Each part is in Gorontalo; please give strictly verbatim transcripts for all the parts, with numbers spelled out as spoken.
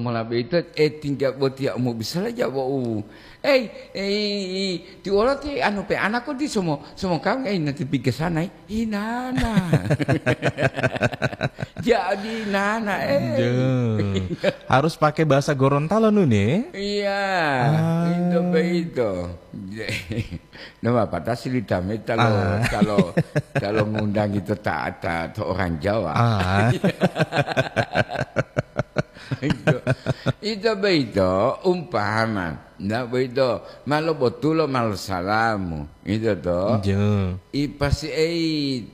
Mola boyito, eh, tingga botiya u mobisala ja wau. Eh, eh, ti wolo ti anu pe anako ti somo, somo kawing, eh, nanti piga sana, eh. Inana. Jadi nana, eh. Duh. Harus pakai bahasa Gorontalo, Nun, ya? Iya, Ah. itu begitu. Nah, Bapak ta silita me talo, Ah. talo, talo ngundang itu ta, ta, ta orang Jawa. Ah. Itu, itu begitu umpama. Ndak begitu, malo botulo, malo salamu. Itu to. Njo. I pasi ei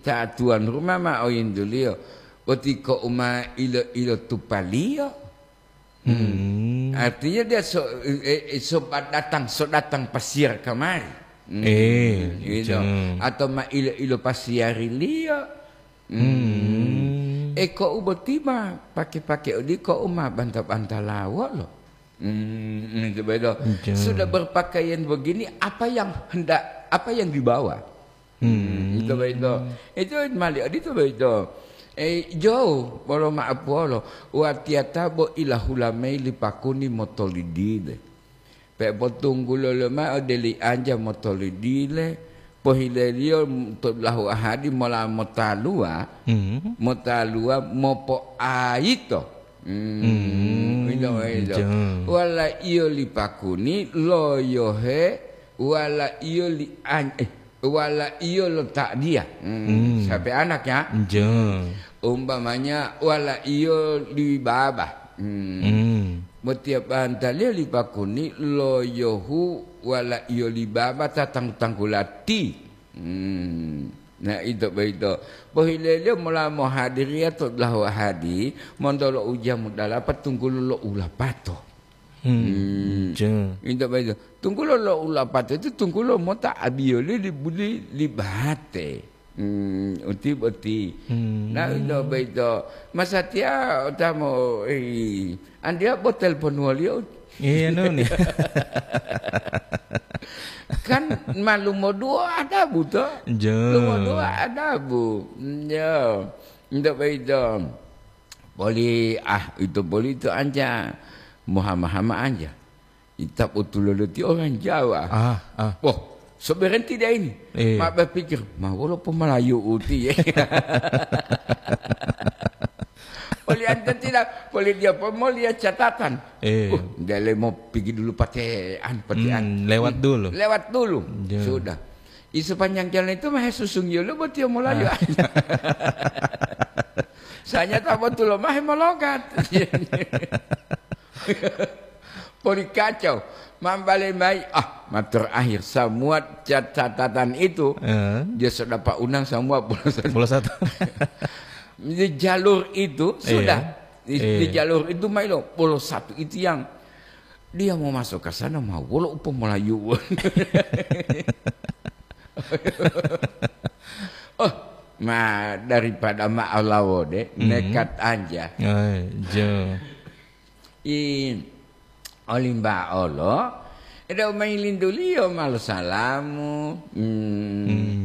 ta tuan rumah ma oyinduliyo. Boti ko uma ilo-ilo tupaliyo. Hmm. Hmm. Artinya dia so, eh, eh, so datang, so datang pasiar kamari. Hmm, Eh, gitu. Jang. Atau ma ilo-ilo pasiariliyo. Hmm. Hmm. Eh, ko u boti ma pake-pake odi ko u ma banta-banta lawo lo. Hmm, hmm, coba itu. Jang. Sudah berpakaian begini, apa yang hendak, apa yang dibawa? Hmm. Itu begitu. Itu mali odito begitu. Eh, jou, bolo ma'apuwolo, watiyata bo ilahula mayi li pakuni motolidile. Pe potunggulo lomao ode li anja motolidile, pohileliyo to dulahu ahadi mola motaluwa, Hmm. motaluwa mopoayito. Hmm, Hmm, ilo, ilo. Jang. Wala iyo li pakuni, loyohe, wala iyo li an-, eh, Wala iyo lo ta'diya. Hmm, Hmm. sampai anak ya. Njo. Umpamanya wala iyo li baba. Hmm. Hmm. Motiya bantaliyo li pakuni loyohu wala iyo li baba ta tanggu-tanggulati. Hmm. Nah, ito boyito. Pohileliyo mola mohadiriya to dulahu ahadi, montolo ujamu dalapa tunggulo lo ulapato. Hmm. Hmm. Njo. Ito boyito. Tunggulo lo ulapato itu tunggulo mota abiyoli li buli li bahate. Hmm, uti boti. Hmm. Nah, ito boyito. Masatiya otamo, eh, andiya bo telpon waliyo. Iya, Nun. Kan malumo duo adabu to? Njo. Lumo duo adabu. Njo. Ito boyito. Poli, ah, ito poli ito anja. Mohama-hama anja. Ita potulolo ti orang Jawa. Ah, ah. Wah, seberenti dia ini. Iya. Ma berpikir, "Ma wolo po Melayu uti ya?" Poli anta tidak, poli dia po mau lihat catatan. Iya. Uh, dia le mau pergi dulu patean, patean. Hmm, lewat Hmm, dulu. lewat dulu. Iya. Sudah. Di sepanjang jalan itu mah susungiyo lo buat dia Melayu. Ah. Saya tak betul lo mah mologat. Poli kacau, mambale mai, ah, ma terakhir, semua cat-, catatan itu, Heeh. dia sudah Pak Unang semua pulau satu. Pulau satu. Di jalur itu, Iya. sudah. Di, di Iya. jalur itu, mai lo, pulau satu itu yang dia mau masuk ke sana, mau wolo upo Melayu. Oh, ma, daripada ma alawo de, Mhm. nekat anja. Ai, jo. I olimba olo, ede umayi linduliyo malo salamu, hmm, Hmm.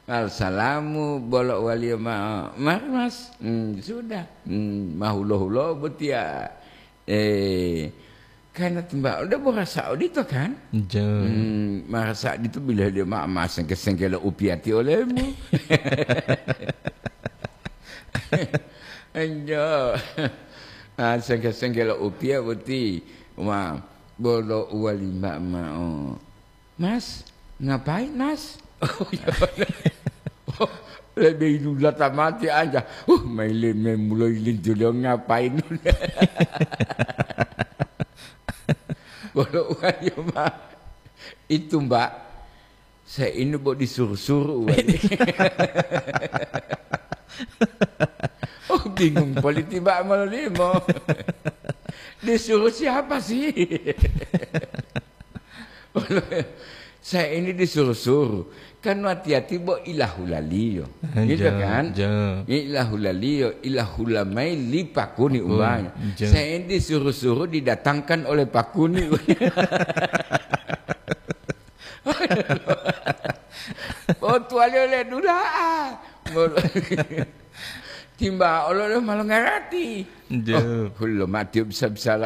malo salamu, bolo waliyo ma-, mari mas, hmm, sudah, hmm, mahulo-hulo botiya, eh, karena timba ode borasa odito kan? Jo. Hmm, marasa odito bila dia ma-, ma sengke-sengkelo upiyati olemu. Enjo. Ah, sengke-senggelo upiya boti. Wah, bolo uwali ma'o. "Mas, ngapain, Mas?" Oh, iya, bener. Oh, lebih dulu mati aja. Uh, mailin, memulai lintulo ngapain? Bolo uwali ma. Itu, Mbak. Saya ini bo disuruh-suruh, wali. Oh, bingung politi, Mbak, mololimo. Disuruh siapa sih? Saya ini disuruh-suruh. Kan hati-hati bo ilahulaliyo. Eh, Gitu ja, kan? ja. Ilahulaliyo, ilahula mai li pakuni Pakuni, umpamanya. ja. Saya ini disuruh-suruh didatangkan oleh pakuni. Oh, tuwaliyo le dula'a. Mul-, timba olo le ma longarati. Njo. Oh, hullo matiyo bisa-bisala